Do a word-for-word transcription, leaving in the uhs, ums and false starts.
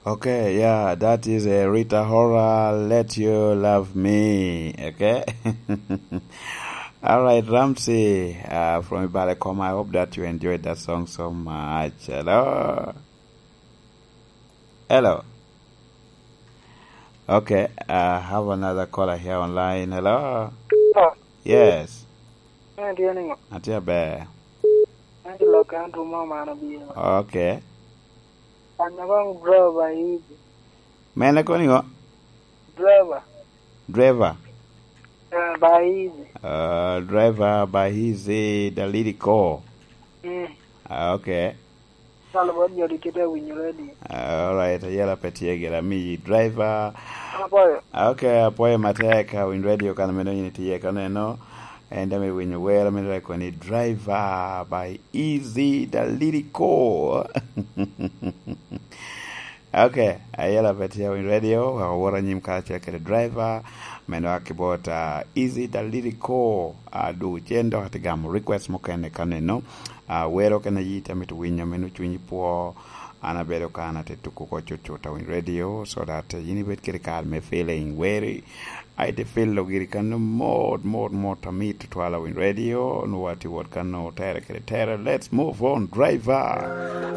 Okay, yeah, that is a Rita Hora, Let You Love Me, okay? All right, Ramsey, uh, from Ibalekoma, I hope that you enjoyed that song so much. Hello? Hello? Okay, I have another caller here online. Hello? Yes. Atye niŋo? Atye aber. An tye lok kan tumo man obino. Okay. An abaŋ driver easy. Mene koni ŋo? Driver. Driver. Uh, by easy. Uh, driver by easy, the lyrical. Mm. Ah, okay. Kalo bot jo di kite winyo radio. Ah, all right, ayela pe tye gira mi driver. Apoyo. Ah, okay, apoyo matek, ah, winy radio kan meno yini tye ka neno. En dame winyo wero meno rekoni driver by easy, the lyrical. Okay, ayela pe tye winy radio, wek owor anyim karacel kede driver, meno aki bot, ah, easy, the lyrical, ah, du cen dok ati gamo request mukene ka neno. Ah, wero kene yi te mito winyo meno cunyi pwo. An abedo ka an ate tuko ko cut cut awiny radio, so that, eh, yin ibed kede kare me feeling weri. Ai, te feel giri kano mot, mot, mot amit tutwal awiny radio, nu wati wot kano tere kede tere. Let's move on, driver.